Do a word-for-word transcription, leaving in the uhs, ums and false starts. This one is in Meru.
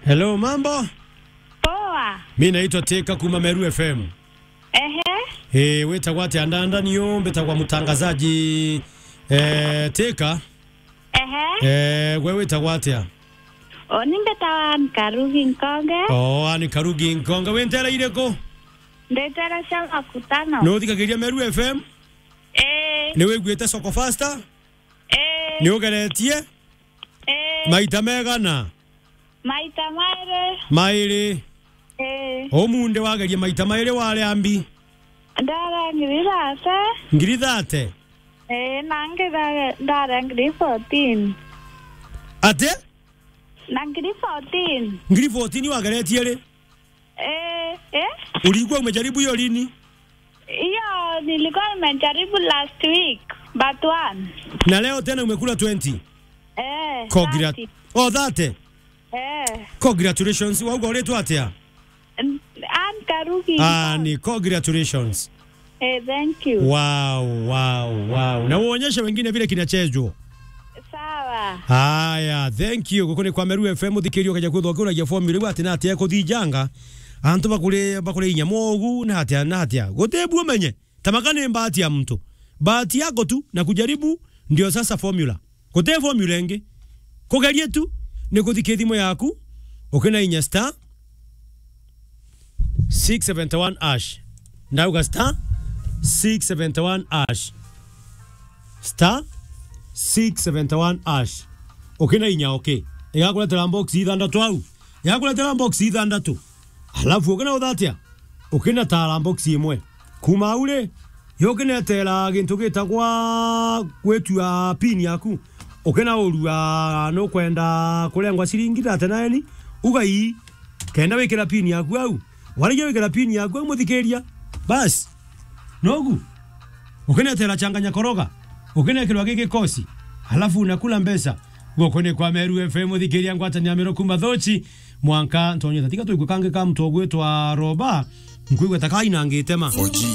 Hello, mambo? Poa. Mi naitwa Teka kuma Meru F M. Ehe. Eh, witagwa atia? Ndanda niyo mbitagwa mutangazaji, eh, Teka. Ehe. Eh, gwe witagwa atia? O, ni mbitagwa Anne Karugi Nkonge. O, Anne Karugi Nkonge. Wi nteere iriku? Ndi nteere cia Makutano. Ni uthikagiria Meru F M? Eh. Ni wiguite Soko Fasta? Eh. Ni ugeretie? Eh. Maita megana? Maita mairi. Mairi. Eh. Umunthi wagerie maita mairi, wari ambi? Ndari ngiri thate. Ngiri thate? Eh, na ngi ndari ngiri fourteen. Ati? Na ngiri fourteen. Ngiri fourteen wageretie ri? Eh, eh? Ulikuwa umejaribu hiyo lini? Hiyo nilikuwa nimejaribu last week, but one. Na leo tena umekula twenty? Eh, Congrat-, thirty. Oh, thirty? Eh. Congratulations. Wauga uritwa atia? N-, Anne Karugi. Ah, ni congratulations. Eh, thank you. Wow, wow, wow. Na uonyeshe wengine vile kinachezwa. Sawa. Haya, thank you. Guku ni kwa Meru F M, uthikiria ukaja kwithwa ukiuragia formula iu ati na atia ikuthijanga. Antu bakuri, bakuri inya mogu, na atia, na atia. Guti bu umenye. Tamaka ni bahati ya mtu. Bahati yako tu na kujaribu ndio sasa formula. Guti formula ingi. Kugeria tu ni kuthika thimu yaku, ukina inya star six seventy one hash. Ndauga star six seventy one hash. Star six seventy one hash. Ukina inya, okay. Igakuretera box ithanthatu au. Igakuretera box ithanthatu. Alafu ukina uthatia? Ukina tara box imwe. Kuma au ri, yukinetera gintu gitagwa gwitua pin yaku. Ukina urua nukwenda kurengwa ciringi thirty nine, uga ii, kenda wikira pin yaku au. Warigia wikira pin yaku au, muthikiria. Bas. Nogu. Ukinetera changanya koroga. Ukinekirwa giki kosi. Alafu unakula mbesa. Guku ni kwa Meru F M, muthikiria ngwatania Meru kuma Thochi. Mwanka ntonye tatiga tuigwe kangi ka mtu ugwitwa Roba. Nkwigua ta kainangite ma. Four G.